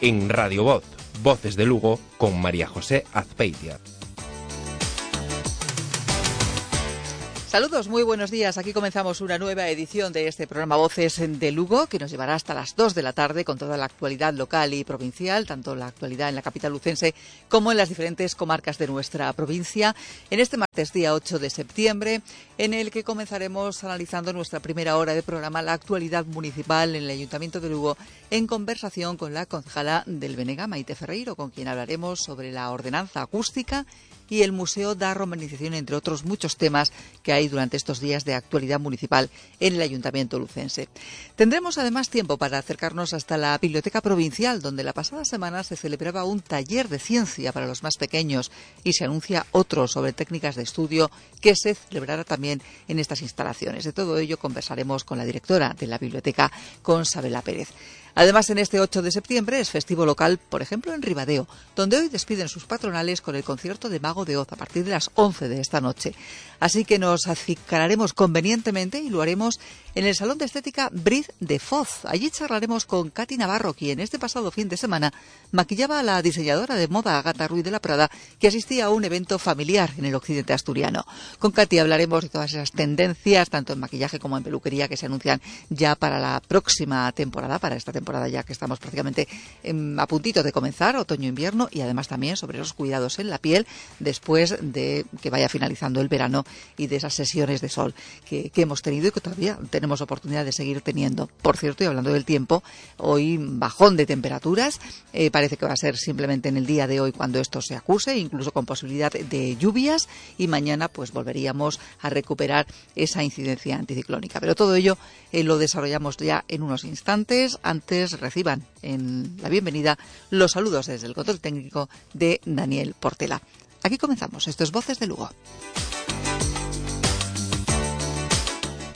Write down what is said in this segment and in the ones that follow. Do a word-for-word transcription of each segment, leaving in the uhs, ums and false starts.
en Radio Voz, Voces de Lugo, con María José Azpeitia. Saludos, muy buenos días. Aquí comenzamos una nueva edición de este programa Voces de Lugo, que nos llevará hasta las dos de la tarde con toda la actualidad local y provincial, tanto la actualidad en la capital lucense como en las diferentes comarcas de nuestra provincia, en este martes día ocho de septiembre, en el que comenzaremos analizando nuestra primera hora de programa, la actualidad municipal en el Ayuntamiento de Lugo, en conversación con la concejala del Benega, Maite Ferreiro, con quien hablaremos sobre la ordenanza acústica y el Museo da Romanización, entre otros muchos temas que hay durante estos días de actualidad municipal en el Ayuntamiento lucense. Tendremos además tiempo para acercarnos hasta la Biblioteca Provincial, donde la pasada semana se celebraba un taller de ciencia para los más pequeños y se anuncia otro sobre técnicas de estudio que se celebrará también en estas instalaciones. De todo ello conversaremos con la directora de la biblioteca, con Sabela Pérez. Además, en este ocho de septiembre es festivo local, por ejemplo, en Ribadeo, donde hoy despiden sus patronales con el concierto de Mago de Oz a partir de las once de esta noche. Así que nos acicararemos convenientemente y lo haremos en el Salón de Estética Briz de Foz. Allí charlaremos con Katy Navarro, quien este pasado fin de semana maquillaba a la diseñadora de moda Agata Ruiz de la Prada, que asistía a un evento familiar en el occidente asturiano. Con Katy hablaremos de todas esas tendencias, tanto en maquillaje como en peluquería, que se anuncian ya para la próxima temporada, para esta temporada. temporada ya que estamos prácticamente eh, a puntito de comenzar, otoño-invierno, y además también sobre los cuidados en la piel después de que vaya finalizando el verano y de esas sesiones de sol que, que hemos tenido y que todavía tenemos oportunidad de seguir teniendo. Por cierto, y hablando del tiempo, hoy bajón de temperaturas, eh, parece que va a ser simplemente en el día de hoy cuando esto se acuse, incluso con posibilidad de lluvias, y mañana pues volveríamos a recuperar esa incidencia anticiclónica. Pero todo ello eh, lo desarrollamos ya en unos instantes. Antes reciban en la bienvenida los saludos desde el control técnico de Daniel Portela. Aquí comenzamos. Esto es Voces de Lugo.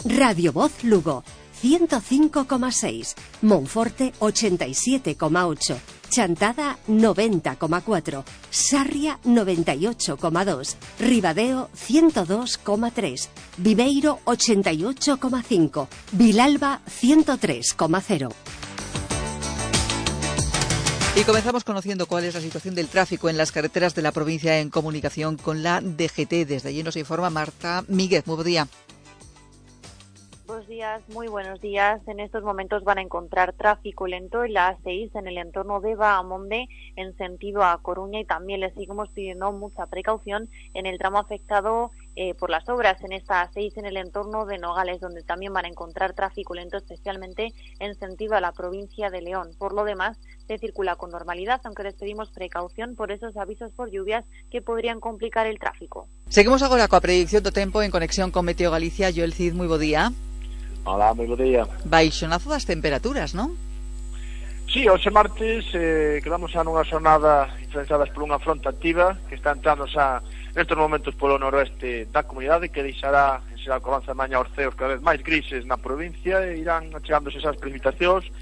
Radio Voz Lugo, ciento cinco coma seis, Monforte ochenta y siete coma ocho, Chantada noventa coma cuatro, Sarria noventa y ocho coma dos, Ribadeo ciento dos coma tres, Viveiro ochenta y ocho coma cinco, Vilalba ciento tres coma cero. Y comenzamos conociendo cuál es la situación del tráfico en las carreteras de la provincia en comunicación con la D G T. Desde allí nos informa Marta Míguez. Muy buen día. Buenos días, muy buenos días. En estos momentos van a encontrar tráfico lento en la A seis en el entorno de Bahamonde en sentido a Coruña, y también les seguimos pidiendo mucha precaución en el tramo afectado eh, por las obras en esta A seis en el entorno de Nogales, donde también van a encontrar tráfico lento, especialmente en sentido a la provincia de León. Por lo demás, se circula con normalidad, aunque les pedimos precaución por esos avisos por lluvias que podrían complicar el tráfico. Seguimos agora coa predicción do tempo en conexión con Meteo Galicia. Joel Cid, moi bo día. Hola, moi bo día. Baixonazo das temperaturas, non? Sí, hoxe martes eh, quedamos xa nunha xornada influenciadas por unha fronte activa que está entrando xa nestes momentos polo noroeste da comunidade, que deixará en xeral co avance da mañá os ceos cada vez máis grises na provincia, e irán achegándose esas precipitacións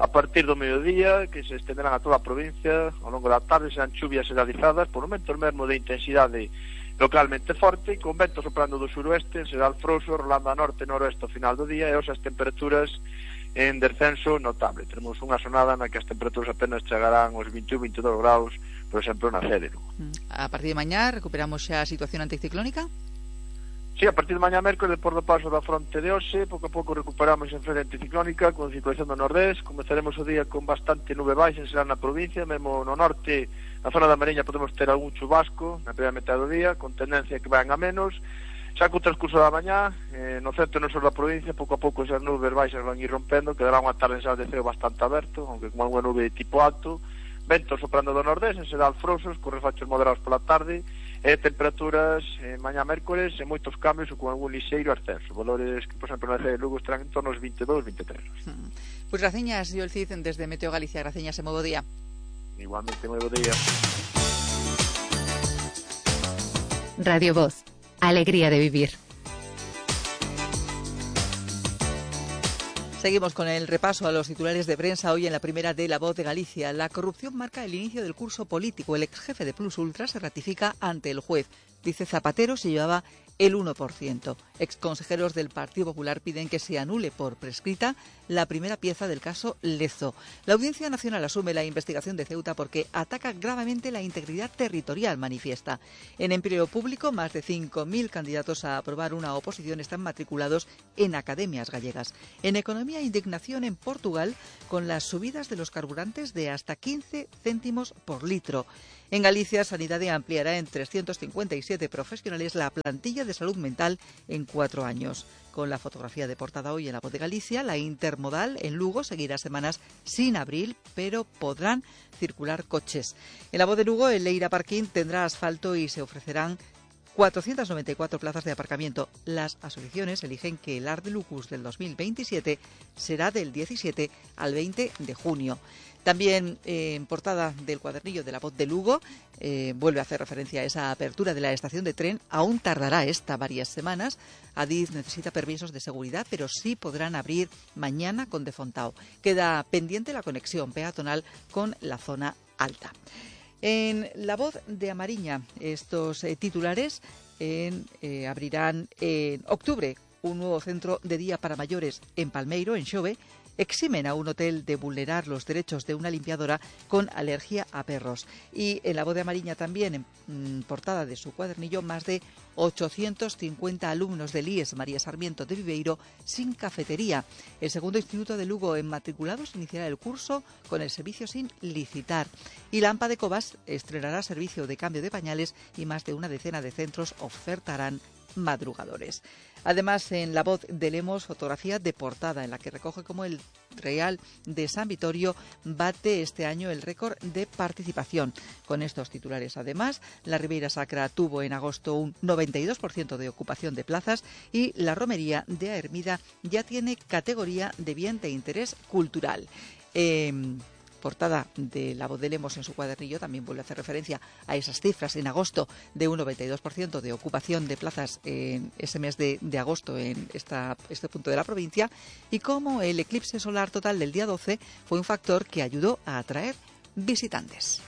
a partir do mediodía, que se estenderán a toda a provincia. Ao longo da tarde serán chuvias generalizadas, por momentos mesmo de intensidade localmente forte, con vento soprando do suroeste, en xeral frouxo, rolando a norte e noroeste ao final do día, e hoxe as temperaturas en descenso notable. Tenemos unha xornada na que as temperaturas apenas chegarán aos vinte e un, vinte e dous graus, por exemplo, na Cédero. A partir de mañá recuperamos xa a situación anticiclónica? Sí, a partir de mañá mércoles, por do paso da fronte de hoxe, pouco a pouco recuperamos a frente anticiclónica con circulación do nordés. Comezaremos o día con bastante nube baixa en xeral na provincia, mesmo no norte, na zona da Mariña, podemos ter algún chubasco na primeira metade do día, con tendencia que vayan a menos. Xa co transcurso da mañá, eh, no centro e no sur da provincia, pouco a pouco esas nubes baixas van ir rompendo, quedará unha tarde en xeral de ceo bastante aberto, aunque con unha nube de tipo alto, ventos soprando do nordés, en xeral frouxos, con refachos moderados pola tarde, e temperaturas eh, mañá mércoles en moitos cambios ou con algún lixeiro ascenso. Valores que, por exemplo, na cidade de Lugo estarán en torno aos vinte e dous, vinte e tres. Hmm. Pois pues graciñas, Joel Cid, desde Meteo Galicia. Graciñas e moi bo día. Igualmente, moi bo día. Radio Voz, alegría de vivir. Seguimos con el repaso a los titulares de prensa hoy en la primera de La Voz de Galicia. La corrupción marca el inicio del curso político. El ex jefe de Plus Ultra se ratifica ante el juez. Dice Zapatero se llevaba el uno por ciento. Exconsejeros del Partido Popular piden que se anule por prescrita la primera pieza del caso Lezo. La Audiencia Nacional asume la investigación de Ceuta porque ataca gravemente la integridad territorial, manifiesta. En empleo público, más de cinco mil candidatos a aprobar una oposición están matriculados en academias gallegas. En economía, indignación en Portugal con las subidas de los carburantes de hasta quince céntimos por litro. En Galicia, Sanidade ampliará en trescientos cincuenta y siete profesionales la plantilla de salud mental en cuatro años. Con la fotografía de portada hoy en La Voz de Galicia, la intermodal en Lugo seguirá semanas sin abrir, pero podrán circular coches. En La Voz de Lugo, el Leira Parking tendrá asfalto y se ofrecerán cuatrocientas noventa y cuatro plazas de aparcamiento. Las asociaciones eligen que el Art de Lucus del dos mil veintisiete será del diecisiete al veinte de junio. También eh, en portada del cuadernillo de La Voz de Lugo eh, vuelve a hacer referencia a esa apertura de la estación de tren. Aún tardará esta varias semanas. Adif necesita permisos de seguridad, pero sí podrán abrir mañana con De Fontao. Queda pendiente la conexión peatonal con la zona alta. En La Voz de Amariña, estos eh, titulares en, eh, abrirán en octubre un nuevo centro de día para mayores en Palmeiro, en Xove. Eximen a un hotel de vulnerar los derechos de una limpiadora con alergia a perros. Y en La Voz de Amariña también, en mm, portada de su cuadernillo, más de ochocientos cincuenta alumnos del I E S María Sarmiento de Viveiro sin cafetería. El segundo instituto de Lugo en matriculados iniciará el curso con el servicio sin licitar. Y la AMPA de Cobas estrenará servicio de cambio de pañales y más de una decena de centros ofertarán madrugadores. Además, en La Voz de Lemos, fotografía de portada en la que recoge cómo el Real de San Vitorio bate este año el récord de participación. Con estos titulares, además, la Ribeira Sacra tuvo en agosto un noventa y dos por ciento de ocupación de plazas y la romería de A Hermida ya tiene categoría de bien de interés cultural. Eh, portada de La Voz de Lemos en su cuadernillo también vuelve a hacer referencia a esas cifras en agosto de un noventa y dos por ciento de ocupación de plazas en ese mes de, de agosto en esta, este punto de la provincia y cómo el eclipse solar total del día doce fue un factor que ayudó a atraer visitantes.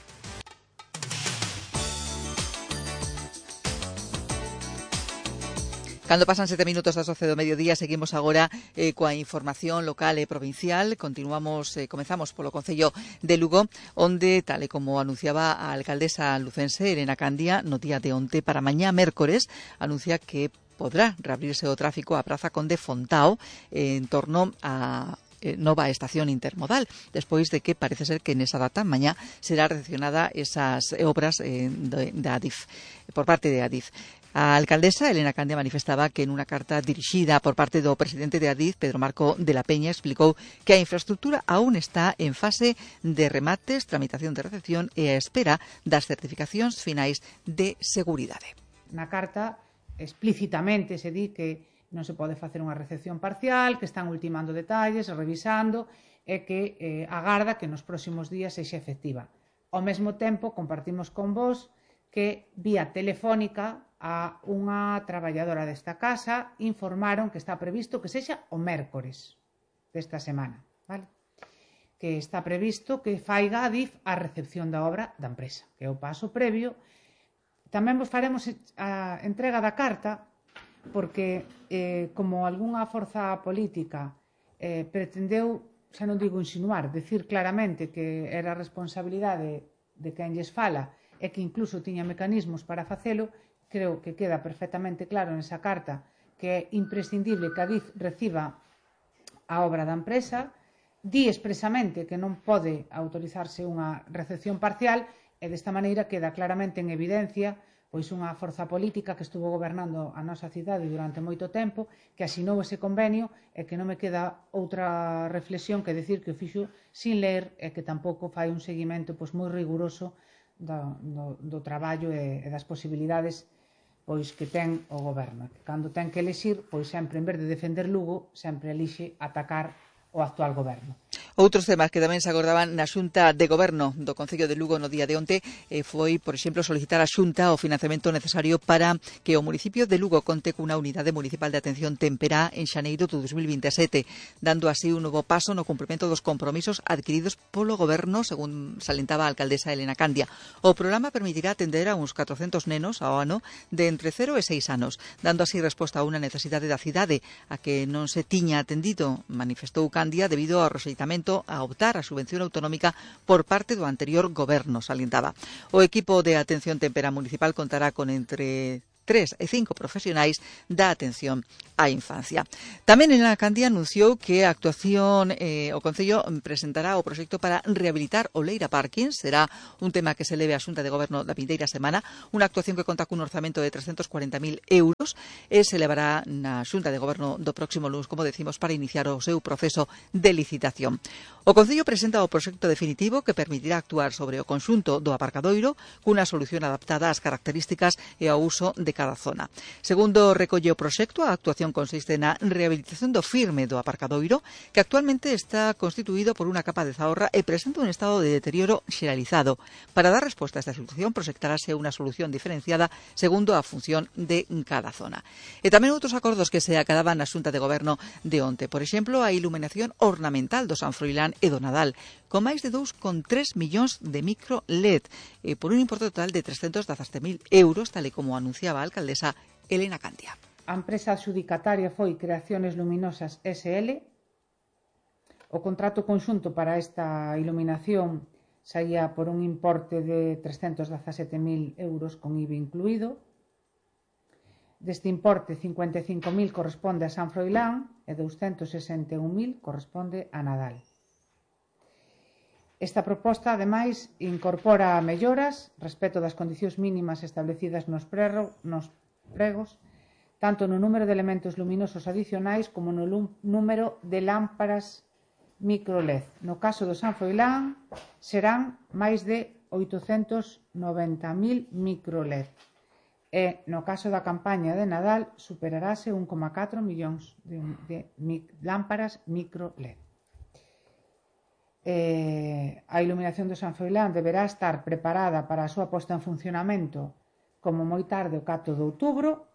Cando pasan sete minutos das doce do mediodía, seguimos agora eh, coa información local e provincial. Continuamos, eh, comenzamos polo Concello de Lugo, onde, tal e como anunciaba a alcaldesa lucense Elena Candia no día de onte para mañá mércores, anuncia que podrá reabrirse o tráfico a Praza Conde Fontao eh, en torno a nova estación intermodal, despois de que parece ser que nesa data mañá será recepcionada esas obras eh, de, de Adif, por parte de Adif. A alcaldesa Elena Candia manifestaba que en unha carta dirixida por parte do presidente de Adif, Pedro Marco de la Peña, explicou que a infraestructura aún está en fase de remates, tramitación de recepción e a espera das certificacións finais de seguridade. Na carta explícitamente se di que non se pode facer unha recepción parcial, que están ultimando detalles, revisando e que eh, agarda que nos próximos días sexa efectiva. Ao mesmo tempo, compartimos con vos que vía telefónica a unha traballadora desta casa informaron que está previsto que sexa o mércores desta semana, vale? Que está previsto que faiga Adif a recepción da obra da empresa, que é o paso previo. Tamén vos faremos a entrega da carta porque, eh, como algunha forza política eh, pretendeu, xa non digo insinuar, decir claramente que era responsabilidade de quen lles fala e que incluso tiña mecanismos para facelo, creo que queda perfectamente claro nesa carta que é imprescindible que Adif reciba a obra da empresa, di expresamente que non pode autorizarse unha recepción parcial e desta maneira queda claramente en evidencia pois unha forza política que estuvo gobernando a nosa cidade durante moito tempo, que asinou ese convenio e que non me queda outra reflexión que decir que o fixo sin ler e que tampouco fai un seguimento pois moi riguroso do, do, do traballo e, e das posibilidades pois que ten o goberno. Cando ten que elixir, pois sempre en vez de defender Lugo, sempre elixe atacar o actual goberno. Outros temas que tamén se acordaban na Xunta de Goberno do Concello de Lugo no día de onte eh, foi, por exemplo, solicitar á Xunta o financiamento necesario para que o municipio de Lugo conte cunha unidade municipal de atención temperá en xaneiro do dos mil vinte e sete, dando así un novo paso no cumprimento dos compromisos adquiridos polo Goberno, según salentaba a alcaldesa Elena Candia. O programa permitirá atender a uns catrocentos nenos ao ano de entre cero e seis anos, dando así resposta a unha necesidade da cidade a que non se tiña atendido, manifestou Candia, debido ao rexeitamento a optar a subvención autonómica por parte do anterior goberno, salientaba. O equipo de atención temperá municipal contará con entre tres e cinco profesionais da atención á infancia. Tamén Elena Candia anunciou que a actuación eh, o Concello presentará o proxecto para rehabilitar o Leira Parking. Será un tema que se leve á Xunta de Goberno da vindeira semana, unha actuación que conta cun orzamento de trescentos cuarenta mil euros e se levará na Xunta de Goberno do próximo lunes, como decimos, para iniciar o seu proceso de licitación. O Concello presenta o proxecto definitivo que permitirá actuar sobre o conxunto do aparcadoiro cunha solución adaptada ás características e ao uso de cada zona. Segundo recolle o proxecto, a actuación consiste na rehabilitación do firme do aparcadoiro, que actualmente está constituído por unha capa de zaorra e presenta un estado de deterioro xeralizado. Para dar resposta a esta situación, proxectarase unha solución diferenciada segundo a función de cada zona. E tamén outros acordos que se acadaban na Xunta de Goberno de onte. Por exemplo, a iluminación ornamental do San Froilán e do Nadal, con máis de dous coma tres millóns de micro L E D, eh, por un importe total de trescentos dezasete mil euros, tal e como anunciaba a alcaldesa Elena Candia. A empresa adxudicataria foi Creaciones Luminosas S L. O contrato conxunto para esta iluminación saía por un importe de trescentos dezasete mil euros con I V A incluído. Deste importe, cincuenta e cinco mil corresponde a San Froilán e douscentos sesenta e un mil corresponde a Nadal. Esta proposta, ademais, incorpora melloras respecto das condicións mínimas establecidas nos, prerro, nos pregos, tanto no número de elementos luminosos adicionais como no número de lámparas micro L E D. No caso do San Froilán serán máis de oitocentos noventa mil micro L E D. E no caso da campaña de Nadal superarase un coma catro millóns de, de, de lámparas micro L E D. Eh, a iluminación do San Froilán deberá estar preparada para a súa posta en funcionamento como moi tarde o catro de outubro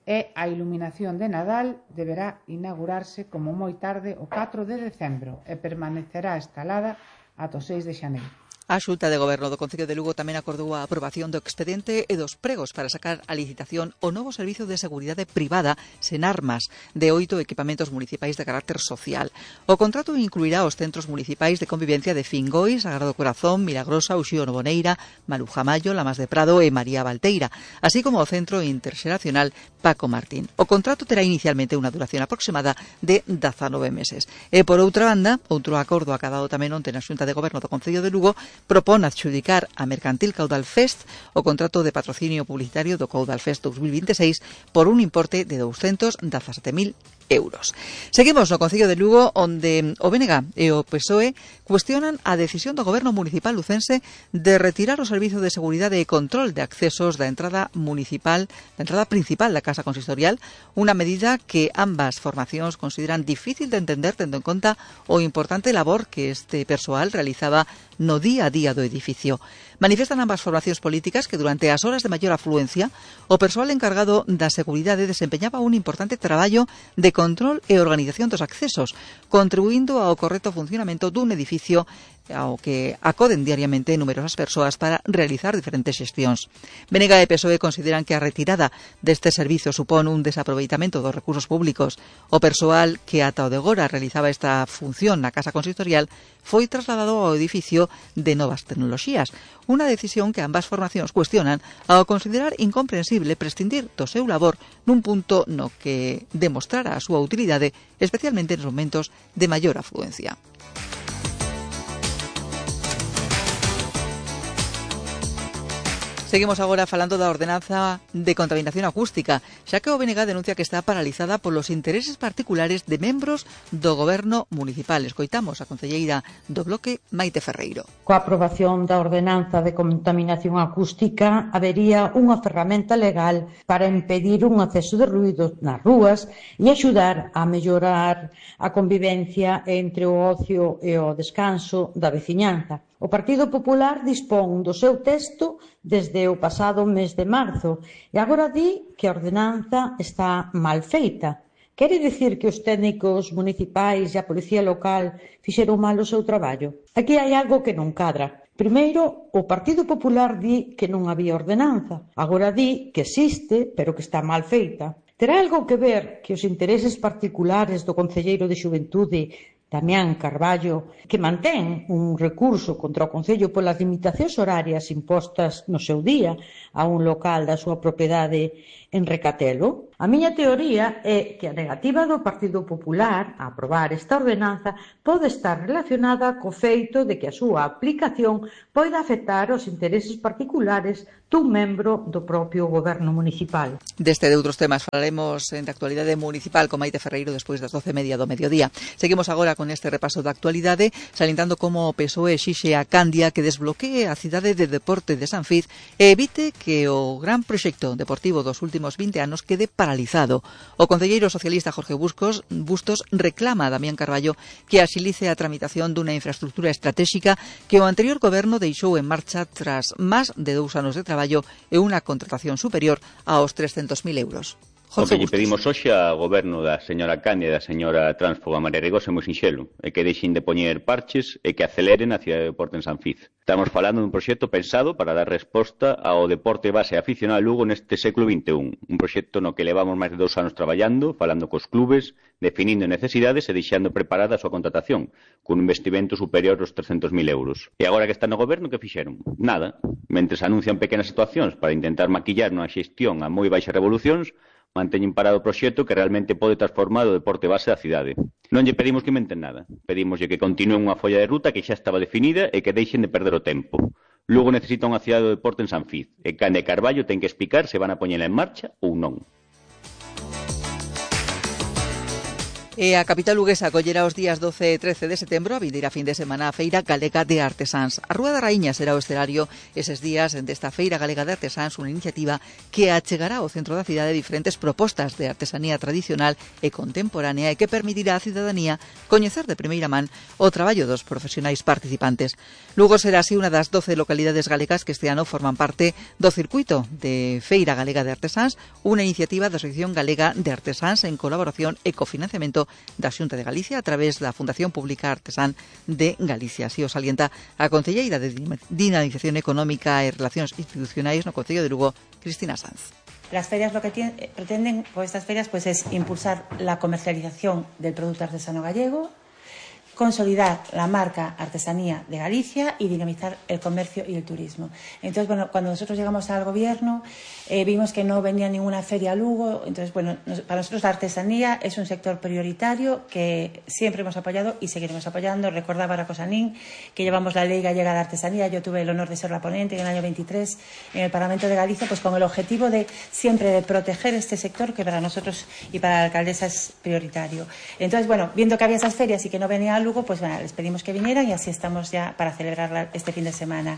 e a iluminación de Nadal deberá inaugurarse como moi tarde o catro de decembro e permanecerá instalada ata o seis de xaneiro. A Xunta de Goberno do Concello de Lugo tamén acordou a aprobación do expediente e dos pregos para sacar a licitación o novo servizo de seguridade privada sen armas de oito equipamentos municipais de carácter social. O contrato incluirá os centros municipais de convivencia de Fingoi, Sagrado Corazón, Milagrosa, Uxío Novoneira, Maruja Mayo, Lamas de Prado e María Valteira, así como o Centro Interxeracional Paco Martín. O contrato terá inicialmente unha duración aproximada de dezanove meses. E, por outra banda, outro acordo acadado tamén onte na Xunta de Goberno do Concello de Lugo propón adxudicar a Mercantil Caudal Fest o contrato de patrocinio publicitario do Caudal Fest dos mil vinte e seis por un importe de douscentos dezasete mil euros. Seguimos no Concello de Lugo, onde o B N G e o P S O E cuestionan a decisión do Goberno Municipal lucense de retirar o servizo de seguridade e control de accesos da entrada municipal, da entrada principal da Casa Consistorial, unha medida que ambas formacións consideran difícil de entender tendo en conta o importante labor que este persoal realizaba no día a día do edificio. Manifestan ambas formacións políticas que durante as horas de maior afluencia o persoal encargado da seguridade desempeñaba un importante traballo de control e organización dos accesos, contribuindo ao correcto funcionamento dun edificio ao que acoden diariamente numerosas persoas para realizar diferentes xestións. B N G e P S O E consideran que a retirada deste servizo supón un desaproveitamento dos recursos públicos. O persoal que ata o de agora realizaba esta función na Casa Consistorial foi trasladado ao edificio de Novas Tecnoloxías, unha decisión que ambas formacións cuestionan ao considerar incomprensible prescindir do seu labor nun punto no que demostrara a súa utilidade, especialmente nos momentos de maior afluencia. Seguimos agora falando da ordenanza de contaminación acústica, xa que o B N G denuncia que está paralizada polos intereses particulares de membros do goberno municipal. Escoitamos a concelleira do Bloque, Maite Ferreiro. Coa aprobación da ordenanza de contaminación acústica habería unha ferramenta legal para impedir un acceso de ruído nas rúas e axudar a mellorar a convivencia entre o ocio e o descanso da veciñanza. O Partido Popular dispón do seu texto desde o pasado mes de marzo e agora di que a ordenanza está mal feita. Quere dicir que os técnicos municipais e a policía local fixeron mal o seu traballo? Aquí hai algo que non cadra. Primeiro, o Partido Popular di que non había ordenanza. Agora di que existe, pero que está mal feita. Terá algo que ver que os intereses particulares do concelleiro de Xuventude, Damián Carballo, que mantén un recurso contra o Concello polas limitacións horarias impostas no seu día a un local da súa propiedade en Recatelo? A miña teoría é que a negativa do Partido Popular a aprobar esta ordenanza pode estar relacionada co feito de que a súa aplicación poida afectar os intereses particulares dun membro do propio goberno municipal. Deste e de outros temas falaremos en de actualidade municipal con Maite Ferreiro despois das doce e media do mediodía. Seguimos agora con este repaso da actualidade, salientando como o P S O E exixe a Candia que desbloquee a cidade de deporte de Sanfiz e evite que o gran proxecto deportivo dos últimos vinte anos quede paralizado. O concelleiro socialista Jorge Buscos, Bustos reclama a Damián Carballo que axilice a tramitación dunha infraestructura estratégica que o anterior goberno deixou en marcha tras máis de dous anos de traballo e unha contratación superior aos trescentos mil euros. O que lle pedimos hoxe ao goberno da señora Candia e da señora transfoga María Regosa é moi sinxelo, é que deixen de poñer parches e que aceleren a cidade de deporte en Sanfiz. Estamos falando dun proxecto pensado para dar resposta ao deporte base aficionado a Lugo neste século vinte e un, un proxecto no que levamos máis de dous anos traballando, falando cos clubes, definindo necesidades e deixando preparada a súa contratación, cun investimento superior aos trescentos mil euros. E agora que está no goberno, que fixeron? Nada. Mentres anuncian pequenas situacións para intentar maquillar unha xestión a moi baixas revolucións, manteñen parado o proxecto que realmente pode transformar o deporte base da cidade. Non lle pedimos que inventen nada. Pedimoslle que continúen unha folla de ruta que xa estaba definida e que deixen de perder o tempo. Lugo necesita unha cidade do deporte en Sanfiz. E Candia e Carballo ten que explicar se van a poñela en marcha ou non. E a capital luguesa acollera os días doce e trece de setembro a vindeira fin de semana a Feira Galega de Artesáns. A Rúa da Raíña será o escenario eses días desta Feira Galega de Artesáns, unha iniciativa que achegará ao centro da cidade diferentes propostas de artesanía tradicional e contemporánea e que permitirá á cidadanía coñecer de primeira man o traballo dos profesionais participantes. Lugo será así unha das doce localidades galegas que este ano forman parte do circuito de Feira Galega de Artesáns, unha iniciativa da Asociación Galega de Artesáns en colaboración e cofinanciamento da Xunta de Galicia a través da Fundación Pública Artesán de Galicia. Así o salienta a concelleira de Dinamización Económica e Relacións Institucionais no Concello de Lugo, Cristina Sanz. Las ferias lo que tienen, pretenden con estas ferias pues es impulsar la comercialización del producto artesano gallego, consolidar la marca Artesanía de Galicia y dinamizar el comercio y el turismo. Entonces, bueno, cuando nosotros llegamos al gobierno, eh, vimos que no venía ninguna feria a Lugo. Entonces, bueno, nos, para nosotros la artesanía es un sector prioritario que siempre hemos apoyado y seguiremos apoyando. Recordaba Racosanín que llevamos la Ley Gallega de Artesanía. Yo tuve el honor de ser la ponente en el año veintitrés en el Parlamento de Galicia, pues con el objetivo de siempre de proteger este sector que para nosotros y para la alcaldesa es prioritario. Entonces, bueno, viendo que había esas ferias y que no venía a Lugo, pues bueno, les pedimos que vinieran y así estamos ya para celebrar este fin de semana.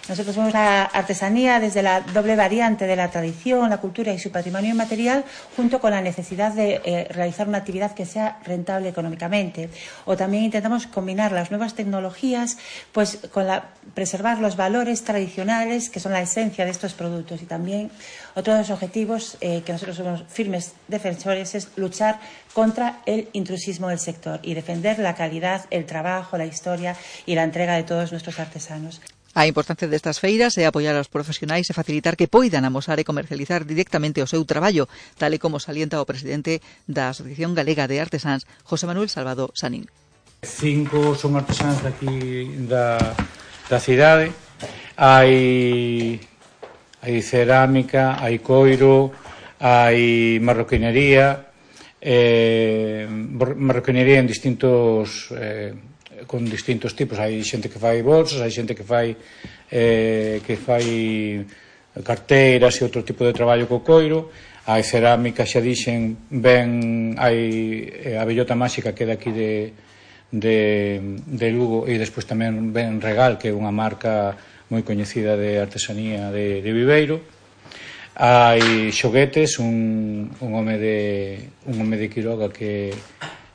Nosotros vemos la artesanía desde la doble variante de la tradición, la cultura y su patrimonio inmaterial, junto con la necesidad de eh, realizar una actividad que sea rentable económicamente. O también intentamos combinar las nuevas tecnologías, pues con la preservar los valores tradicionales que son la esencia de estos productos. Y también otro de los objetivos eh, que nosotros somos firmes defensores es luchar contra el intrusismo del sector y defender la calidad, el trabajo, la historia y la entrega de todos nuestros artesanos. A importancia destas feiras é apoiar aos profesionais e facilitar que poidan amosar e comercializar directamente o seu traballo, tal e como salienta o presidente da Asociación Galega de Artesáns, José Manuel Salvador Sanín. Cinco son artesáns aquí da, da cidade. Hai, hai cerámica, hai coiro, hai marroquinería, eh, marroquinería en distintos... Eh, con distintos tipos. Hai xente que fai bolsas, hai xente que fai eh, que fai carteiras e outro tipo de traballo co coiro. Hai cerámica, xa dixen, ben, hai a Bellota Máxica que é daqui de, de, de Lugo, e despois tamén ben Regal, que é unha marca moi coñecida de artesanía de, de Viveiro. Hai xoguetes, un, un home de un home de Quiroga que,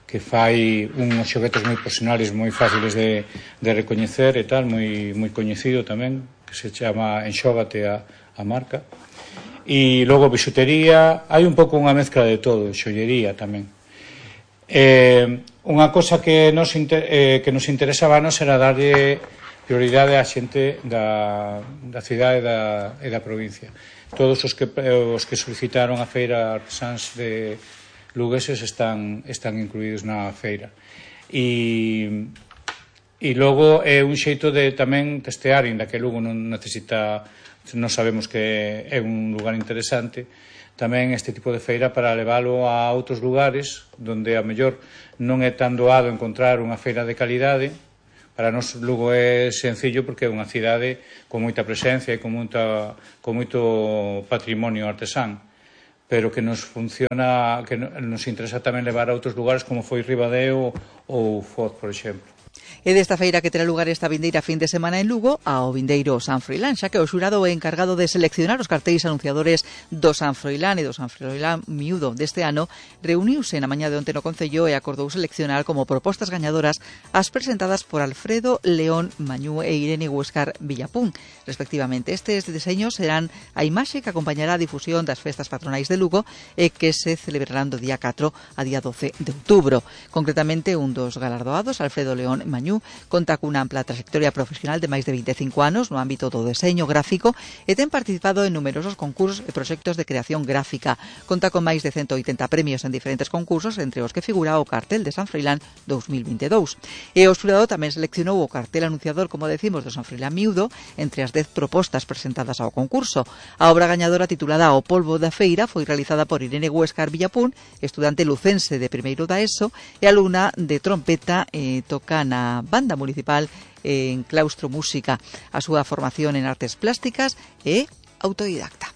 que fai uns xoguetes moi personales, moi fáciles de, de recoñecer e tal, moi, moi coñecido tamén, que se chama Enxógate a, a marca. E logo bisutería, hai un pouco unha mezcla de todo, xollería tamén. Eh, unha cosa que nos, inter, eh, que nos interesaba a nos era darlle prioridade á xente da, da cidade e da, e da provincia. Todos os que, os que solicitaron a feira artesáns de lugueses están, están incluídos na feira. E, e logo é un xeito de tamén testear, inda que Lugo non necesita, non sabemos que é un lugar interesante, tamén este tipo de feira para leválo a outros lugares donde a mellor non é tan doado encontrar unha feira de calidade. Para nós Lugo é sencillo porque é unha cidade con moita presencia e con, moita, con moito patrimonio artesán, pero que nos funciona, que nos interesa tamén levar a outros lugares como foi Ribadeo ou Foz, por exemplo. E desta feira que terá lugar esta vindeira fin de semana en Lugo ao vindeiro San Froilán, xa que o xurado é encargado de seleccionar os cartéis anunciadores do San Froilán e do San Froilán miúdo deste ano, reuniuse na mañá de onte no Concello e acordou seleccionar como propostas gañadoras as presentadas por Alfredo León Mañú e Irene Huescar Villapún, respectivamente. Estes deseños serán a imaxe que acompañará a difusión das festas patronais de Lugo e que se celebrarán do día catro a día doce de outubro. Concretamente, un dos galardoados, Alfredo León Mañú, conta cunha ampla trayectoria profesional de máis de vinte e cinco anos no ámbito do deseño gráfico e ten participado en numerosos concursos e proxectos de creación gráfica. Conta con máis de ciento oitenta premios en diferentes concursos, entre os que figura o cartel de San Froilán dos mil vinte e dous. E o xurado tamén seleccionou o cartel anunciador, como decimos, do San Froilán miúdo entre as dez propostas presentadas ao concurso. A obra gañadora, titulada O polvo da feira, foi realizada por Irene Huescar Villapún, estudante lucense de primeiro da ESO e alumna de trompeta, e toca na banda municipal en Claustro Música. A súa formación en artes plásticas é autodidacta.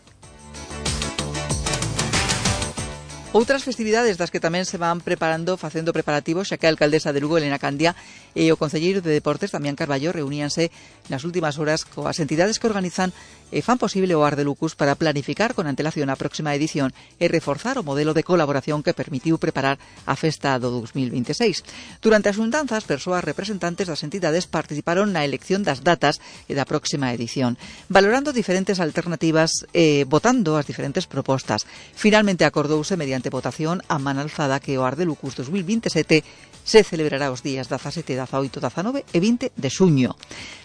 Outras festividades das que tamén se van preparando, facendo preparativos, xa que a alcaldesa de Lugo, Elena Candia, e o concelleiro de Deportes, Damián Carballo, reuníanse nas últimas horas coas entidades que organizan e fan posible o Ar de Lucus para planificar con antelación a próxima edición e reforzar o modelo de colaboración que permitiu preparar a festa do dos mil vinte e seis. Durante as xuntanzas, persoas representantes das entidades participaron na elección das datas e da próxima edición, valorando diferentes alternativas e votando as diferentes propostas. Finalmente acordouse mediante votación a man alzada que o Ar de Lucus dos mil vinte e sete se celebrará os días dezasete, dezaoito, dezanove e vinte de xuño.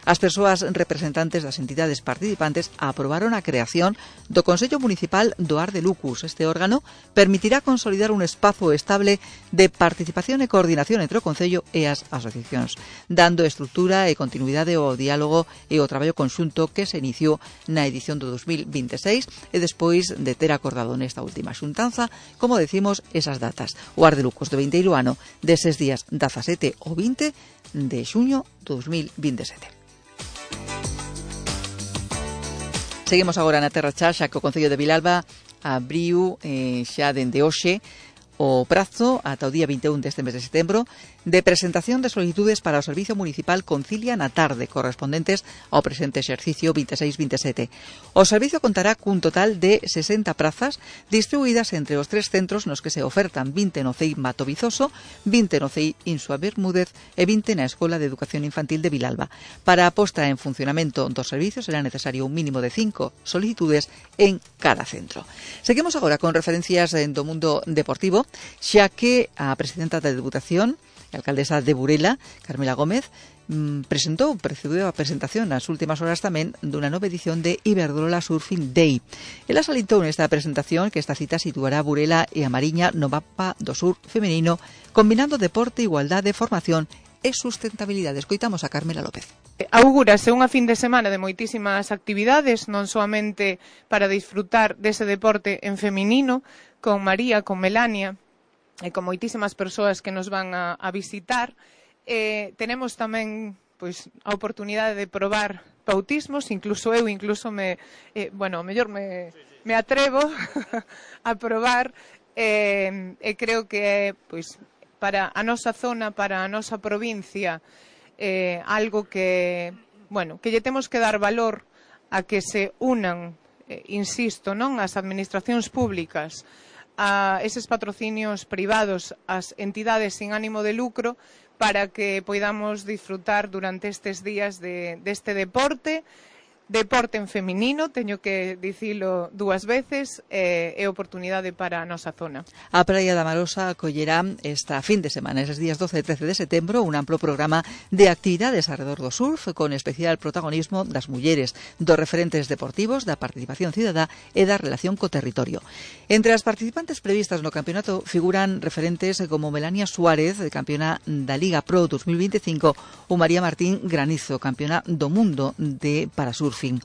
As persoas representantes das entidades participantes aprobaron a creación do Consello Municipal do Ar de Lucus. Este órgano permitirá consolidar un espazo estable de participación e coordinación entre o Concello e as asociacións, dando estrutura e continuidade ao diálogo e ao traballo conxunto que se iniciou na edición do dos mil vinte e seis e despois de ter acordado nesta última xuntanza, como decimos, esas datas. O Ar de Lucus do vindeiro ano deses días dezasete ou vinte de xuño do dos mil vinte e sete. Seguimos agora na Terra Chá, xa que o Concello de Vilalba abriu eh, xa dende hoxe o prazo ata o día vinte e un deste mes de setembro de presentación de solicitudes para o Servicio Municipal Concilia na tarde, correspondentes ao presente exercicio vinte e seis vinte e sete. O servicio contará cun total de sesenta prazas distribuídas entre os tres centros nos que se ofertan vinte no C E I Mato Vizoso, vinte no C E I Insua Bermúdez e vinte na Escola de Educación Infantil de Vilalba. Para a posta en funcionamento dos servicios será necesario un mínimo de cinco solicitudes en cada centro. Seguimos agora con referencias do mundo deportivo, xa que a presidenta da Deputación, a alcaldesa de Burela, Carmela Gómez, presentou, precedeu a presentación nas últimas horas tamén dunha nova edición de Iberdrola Surfing Day. Ela salientou nesta presentación que esta cita situará Burela e a Mariña no mapa do sur femenino, combinando deporte, igualdade, formación e sustentabilidade. Escoitamos a Carmela López. Augúrase unha fin de semana de moitísimas actividades, non soamente para disfrutar dese deporte en feminino, con María, con Melania e con moitísimas persoas que nos van a, a visitar. Eh, tenemos tamén pois a oportunidade de probar bautismos, incluso eu, incluso me, eh, bueno, mellor me, me atrevo a probar, e, e creo que é, pois, para a nosa zona, para a nosa provincia, eh, algo que, bueno, que lle temos que dar valor a que se unan, eh, insisto, non, as administracións públicas, a eses patrocinios privados, as entidades sin ánimo de lucro, para que poidamos disfrutar durante estes días de, deste deporte, deporte en feminino, teño que dicilo dúas veces, e eh, oportunidade para a nosa zona. A Praia da Marosa acollerá esta fin de semana, eses días doce e trece de setembro, un amplo programa de actividades alrededor do surf, con especial protagonismo das mulleres, dos referentes deportivos, da participación cidadá e da relación co territorio. Entre as participantes previstas no campeonato figuran referentes como Melania Suárez, campeona da Liga Pro dos mil veinticinco, ou María Martín Granizo, campeona do mundo de parasurf. Fin.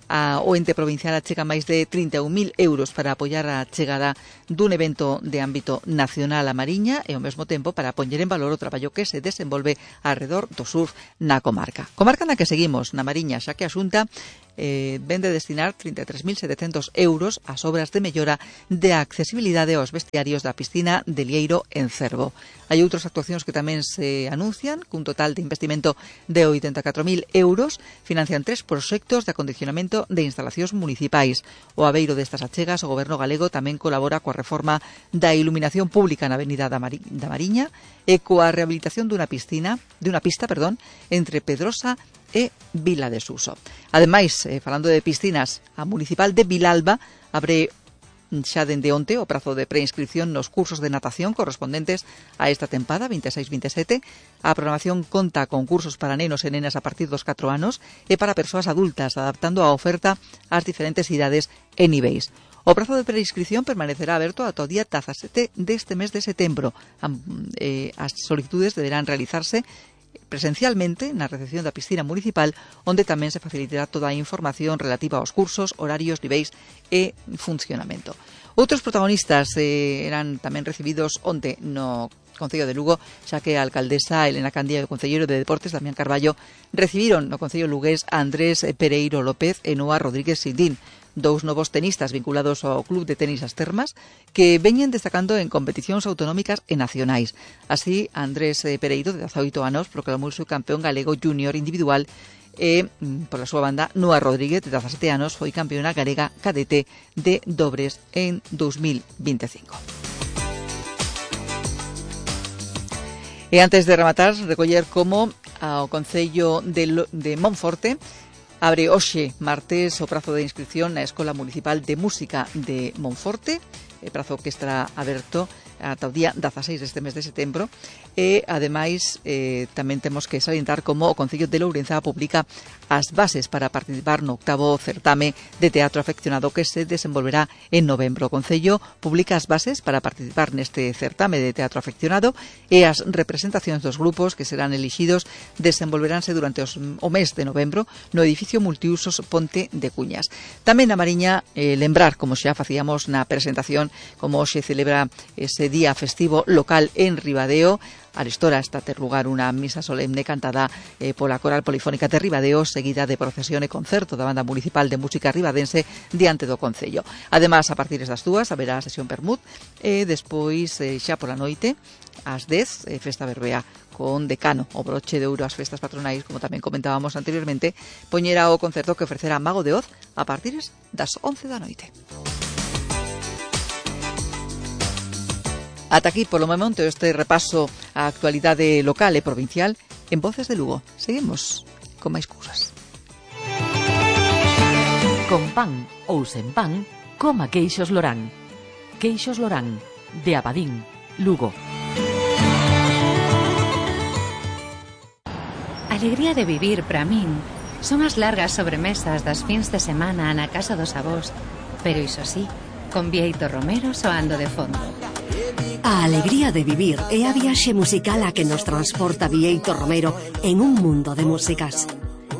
A, o ente provincial achega máis de trinta e un mil euros para apoiar a chegada dun evento de ámbito nacional a Mariña e ao mesmo tempo para poñer en valor o traballo que se desenvolve alrededor do surf na comarca. Comarca na que seguimos, na Mariña, xa que a Xunta eh, ven de destinar trinta e tres mil setecentos euros ás obras de mellora de accesibilidade aos vestiarios da piscina de Lieiro en Cervo. Hai outras actuacións que tamén se anuncian, cun total de investimento de oitenta e catro mil euros, financian tres proxectos de acondicionamento de instalacións municipais. O abeiro destas achegas, o Goberno galego tamén colabora coa reforma da iluminación pública na Avenida da, Mari, da Mariña e coa rehabilitación dunha piscina, de unha pista, perdón, entre Pedrosa e Vila de Suso. Ademais, eh, falando de piscinas, a Municipal de Vilalba abre xa dende onte o prazo de preinscripción nos cursos de natación correspondentes a esta tempada vinte e seis vinte e sete. A programación conta con cursos para nenos e nenas a partir dos catro anos e para persoas adultas, adaptando a oferta ás diferentes idades e niveis. O prazo de preinscripción permanecerá aberto ata o día dezasete deste mes de setembro. As solicitudes deberán realizarse presencialmente na recepción da piscina municipal, onde tamén se facilitará toda a información relativa aos cursos, horarios, niveis e funcionamento. Outros protagonistas eh, eran tamén recibidos onte no Concello de Lugo, xa que a alcaldesa Elena Candía e o concelleiro de Deportes Damián Carballo recibiron no Concello lugués a Andrés Pereiro López e Noa Rodríguez Sindín, dous novos tenistas vinculados ao Club de Tenis As Termas que veñen destacando en competicións autonómicas e nacionais. Así, Andrés Pereiro, de dezaoito anos, proclamou o campeón galego junior individual e, pola súa banda, Noa Rodríguez, de dezasete anos, foi campeona galega cadete de dobres en dos mil veinticinco. E antes de rematar, recoller como ao Concello de, de Monforte abre hoxe, martes, o prazo de inscripción na Escola Municipal de Música de Monforte, e prazo que estará aberto ata o día dezaseis deste mes de setembro, e, ademais, eh, tamén temos que salientar como o Concello de Lourenza publica as bases para participar no octavo certame de teatro afeccionado que se desenvolverá en novembro. O Concello publica as bases para participar neste certame de teatro afeccionado e as representacións dos grupos que serán elixidos desenvolveránse durante os, o mes de novembro no edificio multiusos Ponte de Cuñas. Tamén na Mariña, eh, lembrar, como xa facíamos na presentación, como hoxe celebra ese día festivo local en Ribadeo. Arestora está a ter lugar unha misa solemne cantada eh, pola Coral Polifónica de Ribadeo, seguida de procesión e concerto da Banda Municipal de Música Ribadense diante do Concello. Ademais, a partir das dúas haberá a sesión permut e despois, eh, xa pola noite, ás dez, eh, festa berbea con Decano, o broche de ouro ás festas patronais, como tamén comentábamos anteriormente, poñera o concerto que ofrecerá Mago de Oz a partir das once da noite. Ata aquí, polo momento, este repaso á actualidade local e provincial en Voces de Lugo. Seguimos con máis cousas. Con pan ou sen pan, coma queixos Lorán. Queixos Lorán, de Abadín, Lugo. A alegría de vivir, para min, son as largas sobremesas das fins de semana na casa dos avós, pero iso sí, con Bieito Romero soando de fondo. A alegría de vivir é a viaxe musical a que nos transporta Bieito Romero en un mundo de músicas.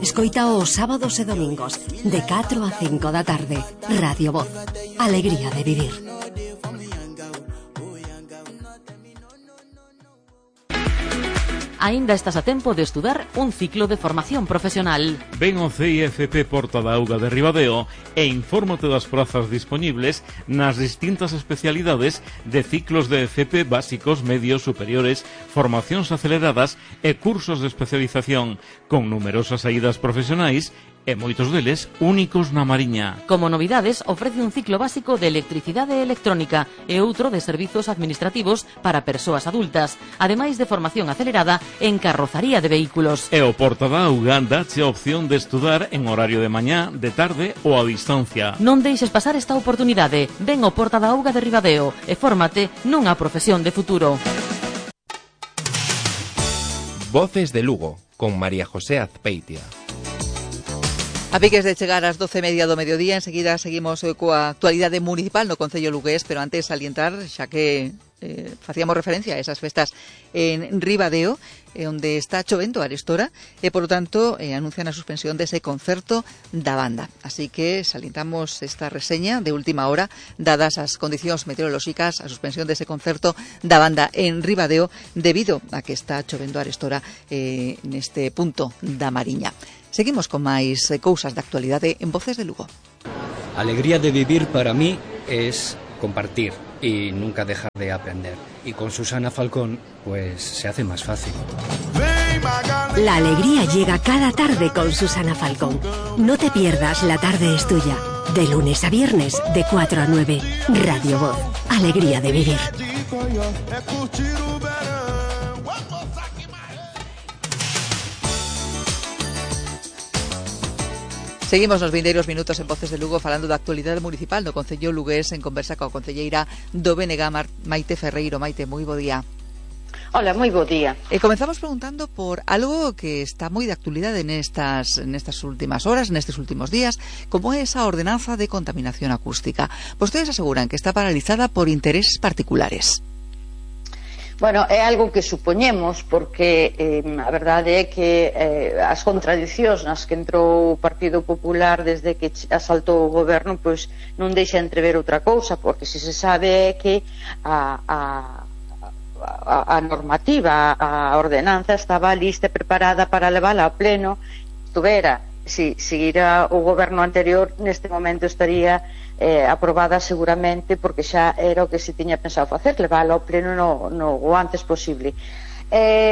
Escoita os sábados e domingos de catro a cinco da tarde. Radio Voz. Alegría de vivir. aínda estás a tempo de estudar un ciclo de formación profesional. Ven ao C I F P Porta da Auga de Ribadeo e infórmate das prazas disponibles nas distintas especialidades de ciclos de F P básicos, medios, superiores, formacións aceleradas e cursos de especialización, con numerosas saídas profesionais e moitos deles únicos na Mariña. Como novidades, ofrece un ciclo básico de electricidade e electrónica e outro de servizos administrativos para persoas adultas, ademais de formación acelerada en carrozaría de vehículos. E o Porta da Auga dache a opción de estudar en horario de mañá, de tarde ou a distancia. Non deixes pasar esta oportunidade. Ven ao Porta da Auga de Ribadeo e fórmate nunha profesión de futuro. Voces de Lugo, con María José Azpeitia. A piques de chegar ás doce e media do mediodía, enseguida seguimos coa actualidade municipal no Concello lugués, pero antes salientar, xa que eh, facíamos referencia a esas festas en Ribadeo, eh, onde está chovendo a arestora, e, por lo tanto, eh, anuncian a suspensión dese concerto da banda. Así que salientamos esta reseña de última hora, dadas as condicións meteorolóxicas, a suspensión dese concerto da banda en Ribadeo, debido a que está chovendo a arestora eh, neste punto da Mariña. Seguimos con máis cousas de actualidade en Voces de Lugo. Alegría de vivir para mí es compartir y nunca dejar de aprender. Y con Susana Falcón, pues se hace más fácil. La alegría llega cada tarde con Susana Falcón. No te pierdas La tarde es tuya. De lunes a viernes, de cuatro a nueve. Radio Voz. Alegría de vivir. Seguimos nos vindeiros minutos en Voces de Lugo falando da actualidade municipal no Concello lugués en conversa coa concelleira do B N G, Maite Ferreiro. Maite, moi bo día. Hola, moi bo día. E comenzamos preguntando por algo que está moi de actualidade nestas, nestas últimas horas, nestes últimos días, como é esa ordenanza de contaminación acústica. Vostedes aseguran que está paralizada por intereses particulares. Bueno, é algo que supoñemos porque eh, a verdade é que eh, as contradicións nas que entrou o Partido Popular desde que asaltou o goberno pois non deixa entrever outra cousa, porque se se sabe é que a, a, a, a normativa, a ordenanza estaba lista e preparada para levala a pleno. Tuvera, si seguira o goberno anterior, neste momento estaría eh, aprobada seguramente, porque xa era o que se tiña pensado facer, levala ao pleno no, no, o antes posible. Eh,